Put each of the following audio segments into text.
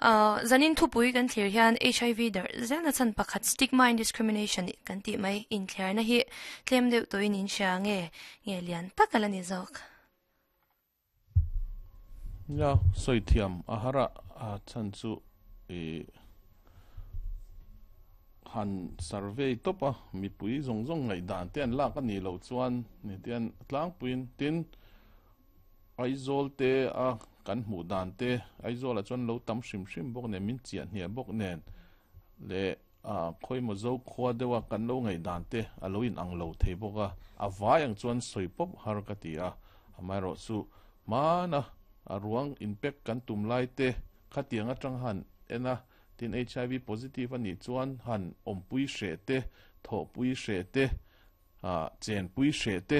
Zanin thupui kan thlir hian HIV darh zelna chhan pakhat stigma and discrimination kan tih mai inthliarna hi tlem deuh tawhin in hria nge nge lian tak a la ni zawk. Nia, sawi thiam a har a, a chhan chu i han survey tawp a, mipui zawng zawng ngaihdan te an lak a nih loh chuan ni tian tlangpuiin tin Aizawl te a kan hmuh dan te Aizawlah chuan lo tam hrim hrim bawk nen min chiah hniah bawk nen leh a khawimaw zo khua deuh a kan lo ngaih dan te a lo in ang lo thei bawk a, a vai ang chuan sawi pawp har ka ti a, amaherawh chu hmana a ruang inpek kan tum lai te khatiang atang han en a, tin HIV positive a nih chuan han awmpui hreh te, thawhpui hreh te, chenpui hreh te,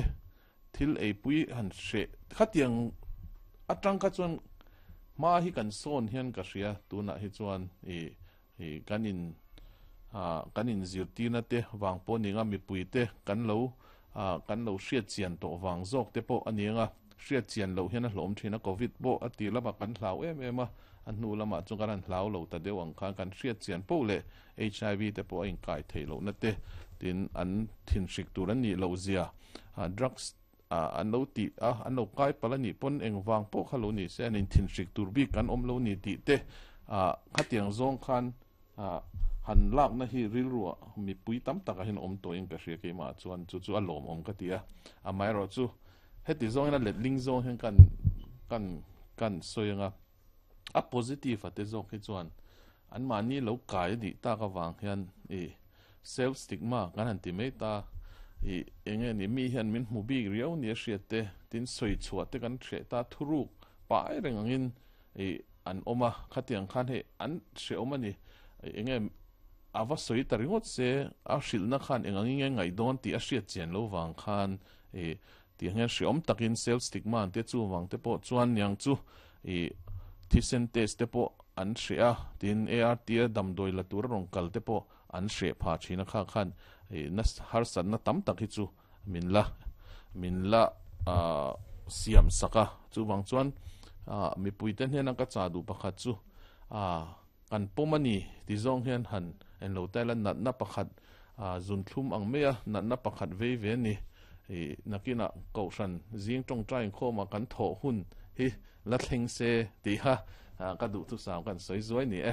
thil eipui han hreh khatiang atang kha chuan hma hi kan sawn hian ka hria tunah hi chuan ih ih kan in ah kan in zirtirna te vang pawh a ni ang a mipui te kan lo ah kan lo hriat chian tawh vang zawk te pawh a ni ang a hriat chian loh hian a hlawm thin a covid pawh a tir lamah kan hlau em em a a hnu lamah chuan kan han hlau lo ta deuh ang khan kan hriat chian poh leh HIV te pawh a inkai theih lohna te tin an thinhrik tur an nih loh zia drugs an lo tih a an lo kai palh a nih pawn engvang pawh kha lo ni se an inthinhrik tur bik an awm lo ni tih te khatiang zawng khan han lakna hi rilruah mipui tam takah hian awm tawhin ka hria keimah chuan chu chu a lawmawm ka ti a amaherawhchu heti zawngin a letling zawng hian kan kan kan sawi anga A positive a te zawk hi chuan anmahni lo kai a nih tak avang hian i self stigma kan han ti mai ta i enge ni mi hian min hmu bik riau nia hriat te tin sawi chhuah te kan hreh ta thuruk pai reng angin i an awm a khatiang khan hei an hrehawm a ni enge a va sawi ta ringawt se a hrilhna khan eng angin nge ngaih dawn tih a hriat chian lo vang khan i Tiang hian hreawm takin self stigma an tia chuvang te pawh chuan niang chu ih thisen test te pawh an hreh a, tin ART a damdawi la tura rawn kal te pawh an hreh phah thin a kha khan ih na harsatna tam tak hi chu min la min la ah siam sak a chuvang chuan ah mipui te hnena ka chah duh pakhat chu ah kan pawm a ni ti zawng hian han enlo ta ila natna pakhat ah zunthlum ang mai a natna pakhat vei ve a ni. Ih nakinah Kohhran zing tawngtai inkhawmah kan thawh hun hi la thleng se tih kha ka duhthusam kan sawi zuai ni e.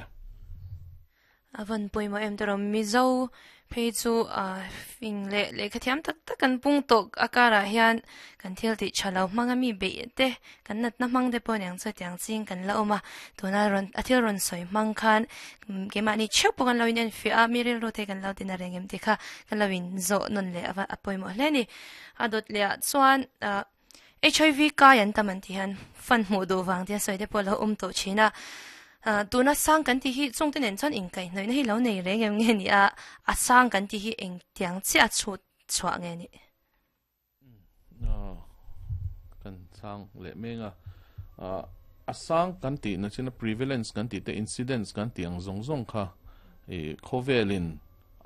A van pawimawh em tawh rawh. Mizo phei chu fing leh lehkha thiam tak tak kan pung tawh a karah hian kan thil tih tha lo hmanga mi beih te kan natna hmang te pawh aniang chu hetiang ching kan la awm a. Tuna rawn a thil rawn sawi hmang khan keimahni theuh pawh kan lo in enfiah a, mi rilru te kan lo tina reng em tih kha kan lo in zawh nawn leh a a pawimawh hle a ni. A dawt leh ah chuan ah HIV kai an tam an tih hian fan hmuh duh vang tia sawi te pawh a lo awm tawh thin a. Ah tuna sang kan tih hi chung te nen chuan inkaihhnawihna hi lo nei reng em nge ni a, a sang kan tih hi engtiang chiah a chhut chhuah nge ni? Kan chang leh meng a, a sang kan tih na chin a prevalence kan tih te incidence kan tih ang zawng zawng kha ih khawvelin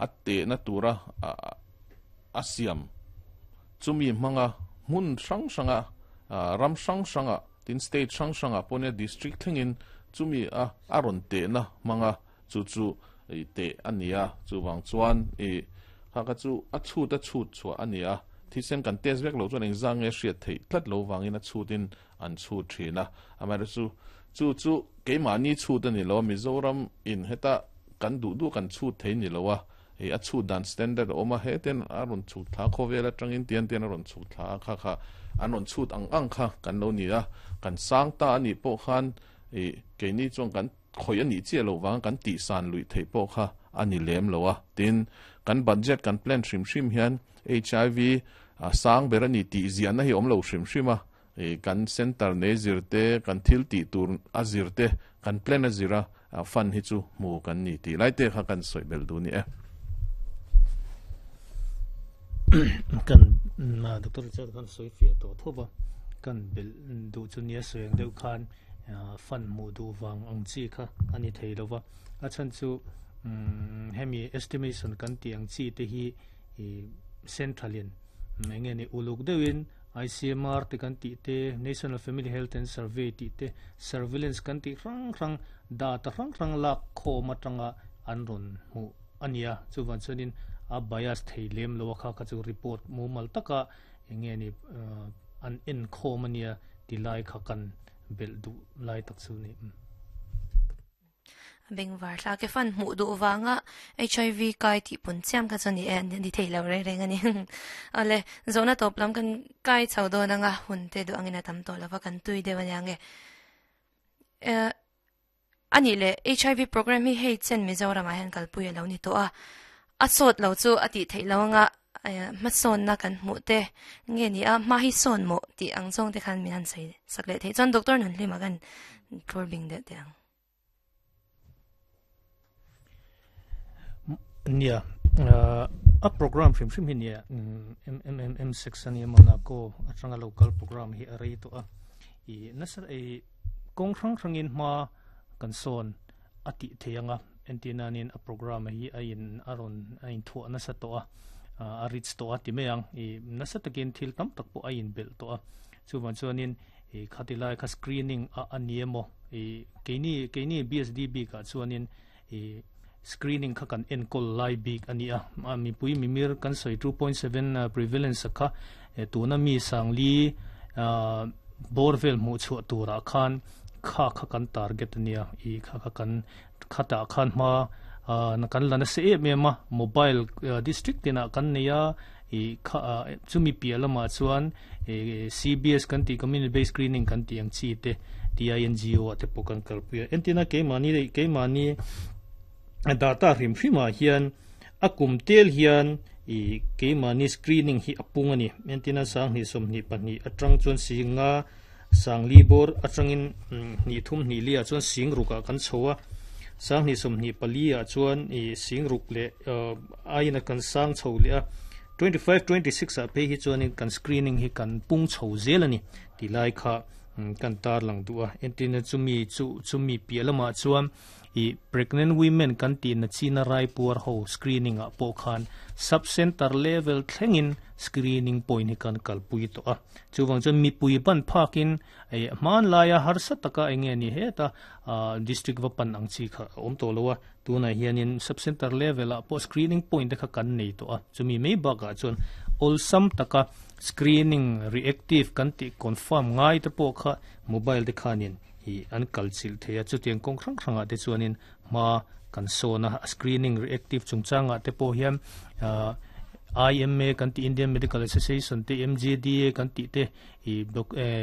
a tehna tura a siam chumi hmanga hmun hrang hranga ram hrang hranga tin state hrang hrangah pawh nia district thlengin chumi a a rawn tehna hmanga chu chu ih teh a ni a, chuvang chuan ih kha kha chu a chhut a chhut chhuah a ni a, thisen kan test vek loh chuan engzah nge hriat theih tlat lo vangin a chhutin an chhut thin a, amaherawhchu chu chu keimahni chhut a ni lo a, Mizoram in heta kan duh duh kan chhut thei ni lo a, ih a chhut dan standard a awm a, heten a rawn chhut thla khawvel atangin tian tian a rawn chhut thla a, kha kha an rawn chhut ang ang kha kan lo ni a, kan sang ta a nih pawh khan ih keini chuan kan Khawih a nih chiah loh vanga kan tihsan luih theih pawh kha a ni lem lo a. Tin, kan budget kan plan hrim hrim hian HIV sang ber a ni tih ziahna hi a awm lo hrim hrim a. Kan centre nei zir te, kan thil tih tur a zir te, kan plan a zir a, fund hi chu hmu kan ni tih lai te kha kan sawi belh duh ni e. Kan Doctor Richard khan sawi fiah tawh thawp a, kan belh duh chu nia sawi ang deuh khan Fund hmuh duh vang ang chi kha a ni thei lo va, a chhan chu hemi estimation kan tih ang chi te hi central in eng nge ni uluk deuhin ICMR te kan tih te, National Family Health and Survey tih te, surveillance kan tih hrang hrang, data hrang hrang lak khawm atanga an rawn hmuh a nia. Chuvang chuanin a bias thei lem lo a, kha kha chu report mumal taka eng nge ni an en khawm a nia ti lai kha kan belh duh lai tak chu ni. Bengvar thla ke fan hmuh duh vanga HIV kai tih pun chiam kha chu ni e, ni thei lo reng reng a ni. Awle, zawhna tawp lam kan kai chho dawn anga hun te duh angin a tam tawh lova kan tui deuh ania nge. A nih leh HIV program hi hei chen Mizoramah hian kalpui a lo ni tawh a, a sawt lo chu a tih theih lo anga hmasawnna kan hmuh te nge ni a, hma hi sawn mawh tih ang zawng te khan min han sawi sak leh theih chuan Doctor Nunhlima khan thlur bing deuh teh ang. Nia, a program hrim hrim hi nia MMM sex ania Monaco atanga local program hi a rei tawh a, i nasa ei kawng hrang hrangin hma kan sawn a tih thei anga entirnanin a program hi a in a rawn a inthuah nasa tawh a, a rich tawh a ti mai ang, i nasa takin thil tam tak pawh a inbelh tawh a, chuvang chuanin i khati lai kha screening a a ni emaw i keini keini BSD bikah chuanin i screening kha kan enkawl lai bik a ni a, mipui mimir kan sawi 2.7 prevalence kha tuna mi sangli bawr vel hmuh chhuah turah khan kha kha kan target a nia, i kha kha kan khatah khan hma kan la nasa em em a, mobile district tinah kan nei a, i kha chumi piah lamah chuan CBS kan tih community based screening kan tih ang chi te TINGO ah te pawh kan kalpui a, entirna keimahni keimahni data hrim hrimah hian a kum tel hian i keimahni screening hi a pung a ni, entirna sanghnih sawmhnih pahnih atang chuan singa sangli bawr atangin hnih thum hnih li ah chuan sing ruk ah kan chho a, sanghnih sawmhnih pali ah chuan i sing ruk leh aiin a kan sang chho leh a. 25, 26 ah phei hi chuanin kan screening hi kan pung chho zel a ni tih lai kha kan tarlang duh a. Entirna chumi chu chumi piah lamah chuan ih pregnant women kan tihna china raipuar ho screening ah pawh khan sub center level thlengin screening point hi kan kalpui tawh a. Chuvang chuan mipui ban phakin ih hmanlaia harsa taka eng nge ni heta district va pan ang chi kha a awm tawh lo a. Tunah hianin sub center level ah pawh screening point te kha kan nei tawh a, chumi mai bakah chuan awlsam taka screening reactive kan tih confirm ngai te pawh kha mobile te khanin ih an kal chilh thei a, chutiang kawng hrang hrangah te chuanin hma kan sawn a, screening reactive chungchangah te pawh hian ah IMA kan tih Indian Medical Association te MGDA kan tih te ih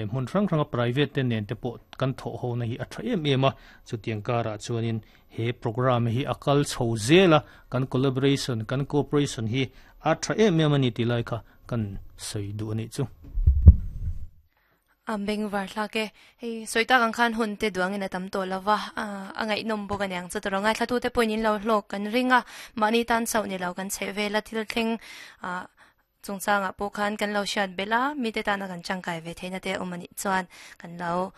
hmun hrang hranga private te nen te pawh kan thawh ho na hi a tha em em a, chutiang karah chuanin He programme hi a kal chho zel a, kan collaboration, kan cooperation hi a tha em em a ni tih lai kha kan sawi duh a nih chu. A bengvar thlak e. Hei sawi tak ang khan hun te duangin a tam tawh lo va, a ngaihnawm bawk a niang chu tawrh a. Ngaithlatute pawhin in lo hlawk kan ring a, mahni tan chauh ni lo kan chheh vel a, thil thleng Chungchangah pawh khan kan lo hriat belh a, mite tana kan tangkai ve theihna te awm a nih chuan kan lo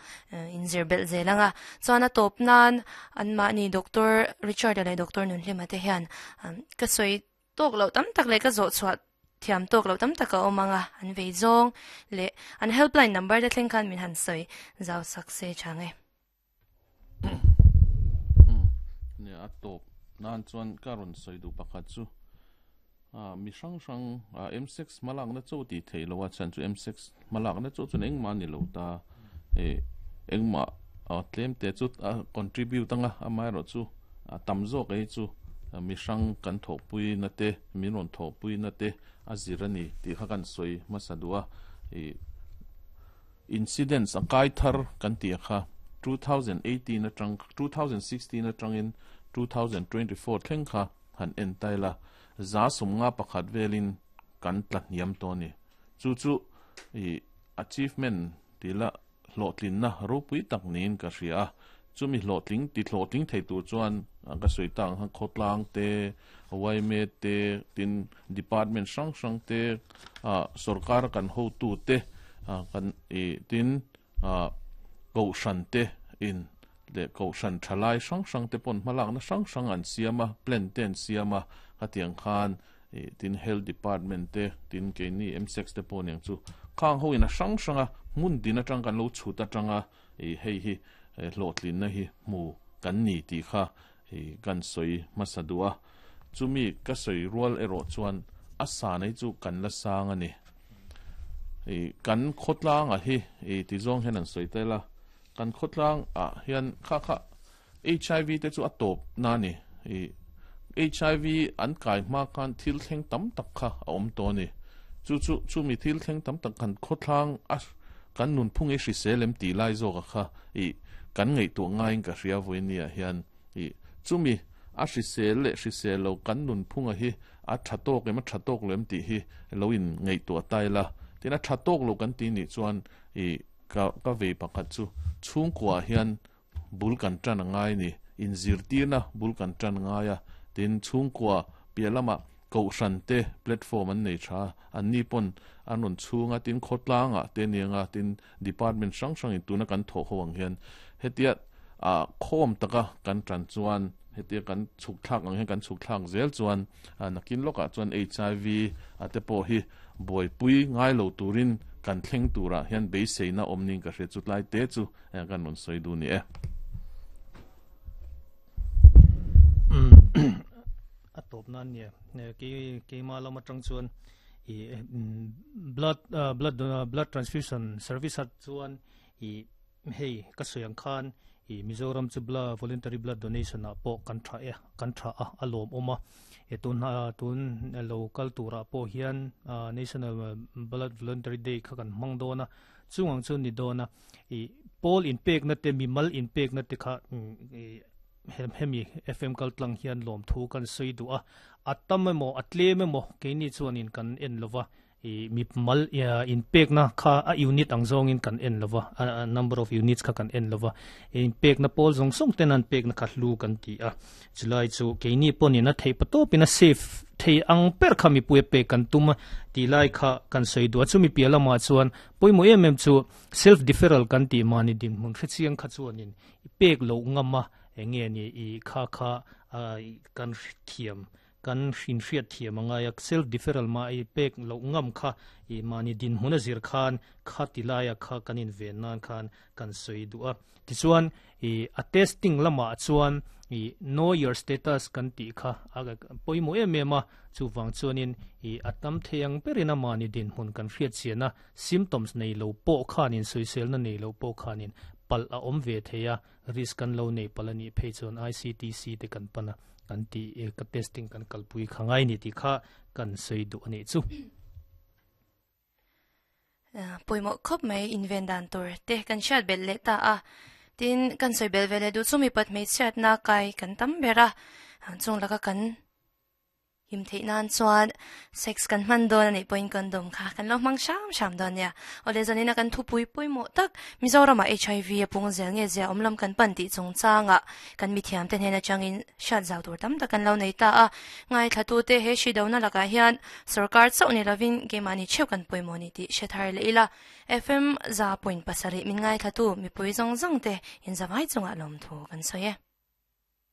inzir belh zel ang a. Chuan a tawp nan anmahni Doctor Richard-a leh Doctor Nunhlima te hian ka sawi tawk loh tam tak leh ka zawh chhuah thiam tawk loh tam tak a awm ang a, an vei zawng leh an helpline number te thleng khan min han sawi zau sak se chang e. Nia a tawp nan chuan ka rawn sawi duh pakhat chu mi hrang hrang M6 hmalakna chaw tih theih loh a chhan chu M6 hmalakna chaw chuan engmah a ni lo ta hei engmah tlem te chu a contribute anga amaherawh chu a tam zawk ei chu mi hrang kan thawhpui na te min rawn thawhpui na te a zir a ni tih kha kan sawi hmasa duh a ih. Incidents a kai thar kan tih a kha 2018 atang 2016 atangin 2024 thleng kha han en ta ila, za sawmnga pakhat velin kan tla hniam tawh a ni. Chu chu ih achievement tih la hlawhtlinna ropui tak niin ka hria a, chumi hlawhtling ti hlawhtling thei tur chuan ka sawi tak ang khan khawtlang te, yma te, tin department hrang hrang te, ah sorkar kan hotu te kan ih tin ah kohhran te in leh kohhran thalai hrang hrang te pawn hmalakna hrang hrang an siam a, plan te an siam a, khatiang khan Tin Health Department te, tin keini MSEX te pawh aniang chu khang ho in a hrang hrang a hmun din atang kan lo chhut atanga hei hi hlawhtlinna hi hmu kan ni tih kha kan sawi hmasa duh a. Chumi ka sawi rual erawh chuan a sa nei chu kan la sang a ni. Kan khawtlanga hi ti zawng hian an sawi tel a, kan khawtlang ah hian kha kha HIV te chu a tawp na ni. HIV an kai hma khan thil thleng tam tak kha a awm tawh a ni. Chu chu chumi thil thleng tam tak kan khawthlang a kan nunphung i hrisel em tih lai zawk a kha i kan ngaihtuah ngaiin ka hria vawinia hian i chumi a hrisel leh hrisel lo kan nunphung a hi a tha tawk em a tha tawk lo em tih hi lo in ngaihtuah ta ila. Tin a tha tawk lo kan tih nih chuan i ka ka vei pakhat chu chhungkua ah hian bul kan tan a ngai ni, inzirtirna bul kan tan ngai a, tin chhungkua piah lamah kohhran te platform an nei tha a, anni pawn an rawn chhung a, tin khawtlangah te aniang a, tin department hrang hrangin tuna kan thawh ho ang hian hetia ah khawm taka kan tan chuan hetia kan chhuk thlak ang hian kan chhuk thlak zel chuan nakin lawkah chuan HIV a te pawh hi buaipui ngai lo turin kan thleng turah hian beiseina awm niin ka hria chu tlai te chu Heng kan rawn sawi duh ni e. A tawp nan nia keima lam atang chuan i blood blood blood transfusion service at chuan i hei ka sawi ang khan i Mizoram chu blood voluntary blood donation ah pawh kan tha e kan tha a a lawm awm a e tun tun lo kal turah pawh hian national blood voluntary day kha kan hmang dawn a chung ang chu ni dawn a i pawl inpekna te mimal inpekna te kha hemi FM kal tlang hian lawmthu kan sawi duh a a tam emaw a tlem emaw keini chuanin kan en lova i mimal inpekna kha a unit ang zawngin kan en lova a number of units kha kan en lova inpekna pawl zawng zawng ten an pekna kha hlu kan ti a Chulai chu keini pawhin a theih patawpin a safe thei ang ber kha mipui a pek kan tum a tih lai kha kan sawi duh a. Chumi piah lamah chuan pawimawh em em chu self deferral kan tih mahni dinhmun hrechiang kha chuanin i pek loh ngam a eng nge ni i kha kha kan thiam kan inhriat thiam a ngai a. Self deferral mah i pek loh ngam kha i mahni dinhmun a zir khan kha ti laia kha kan inven nan khan kan sawi duh a. Tichuan i a testing lamah chuan i know your status kan tih kha a pawimawh em em a, chuvang chuanin i a tam thei ang berin a mahni dinhmun kan hriat chian a, symptoms nei lo pawh khanin sawiselna nei lo pawh khanin palh a awm ve thei a, risk kan lo nei palh a nih phei chuan ICTC te kan pan a, kan tih ka testing kan kalpui kha ngai ni tih kha kan sawi duh a nih chu. Pawimawh khawp mai inven dan tur te kan hriat belh leh ta a, tin kan sawi belh ve leh duh chu mipat hmeichhiatna kai kan tam ber a, chung laka kan him theih nan chuan sex kan hman dawn a nih pawhin condom kha kan lo hmang hram hram dawn nia. Awle zanina kan thupui pawimawh tak Mizoramah HIV a pung zel nge zia awm lam kan pan tih chungchangah kan mithiamte hnen atangin hriat zau tur tam tak kan lo nei ta a, ngaithlatute he hri dona lakah hian Sorkar chauh ni lovin keimahni theuh kan pawimawh ni tih hre thar leh ila. FM 100.7 min ngaithlatu mipui zawng zawng te inzavai chungah lawmthu kan sawi e.